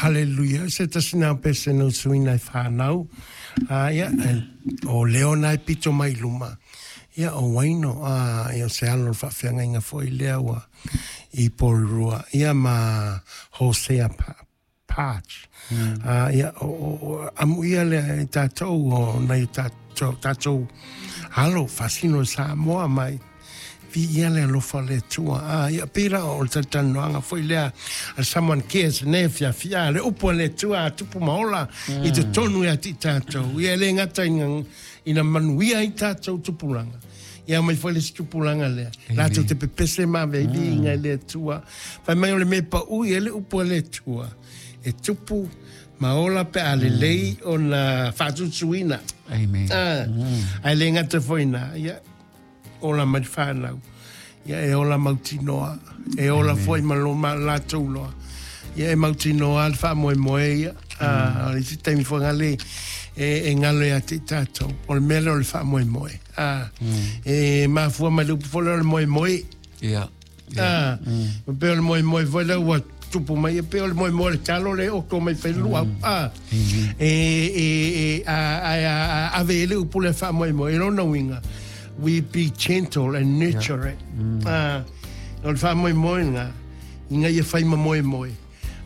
Haleluia. Se tasi na pese no suina i whanau. Ia, o Leona e pito mai luma. Ia, o Waino, ia, o se alo o le faafeagaiga foi lea ua i Porirua. Ia, ma Hosea Patch. Ia, o amuia lea e tatou o nai o tatou alo faasino i Samoa mai. Viia le alofa o le Atua. Ia, pei la o le talatalanoaga foi lea a Someone Cares nei afiafi. Le upu a le Atua a tupu ma ola i totonu ia te i tatou. Ia, e le gata ina manuia ai tatou tupulaga. Ia mai foi le isi tupulaga lea. Latou te pepese ma ave ai viiga i le Atua. Fai mai o le mea e pau i ai le upu a le Atua. E tupu ma ola pe a lelei ona faatutuina. Amen. Ae le gata foi na, ia, ola mai le whanau. Ia e ola mautinoa. E ola foi ma lo ma latou loa. Ia e mautinoa le faamoemoe ia. O le isi taimi foi ngale e ngalo ia te i tatou. O le mea lea o le faamoemoe. E mafua mai le upu foi lea o le moemoe. E pei o le moemoe foi lea ua tupu mai, e pei o le moemoe o le talo le oto mai fai luau. E, a, ave e le upu le faamoemoe. E lona uiga, we be gentle and nurture it. O le faamoemoe lena, ina ia fai ma moemoe.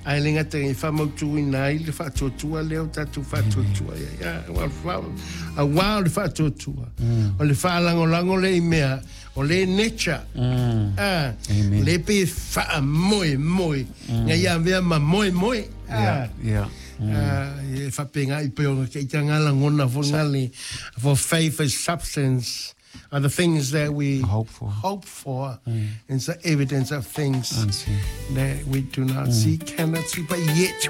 Ae le gata i faamautuina ai le faatuatua lea o tatou faatuatua ai. Auā o le faatuatua. O le faalagolago lea i mea, o le nature. Amen. Le pe faamoemoe. Ina ia avea ma moemoe. E faapena i pei ona te ita ngā lagona foi ngā le, for faith is substance are the things that we hope for. Hope for. And it's the evidence of things unseen. That we do not see, cannot see, but yet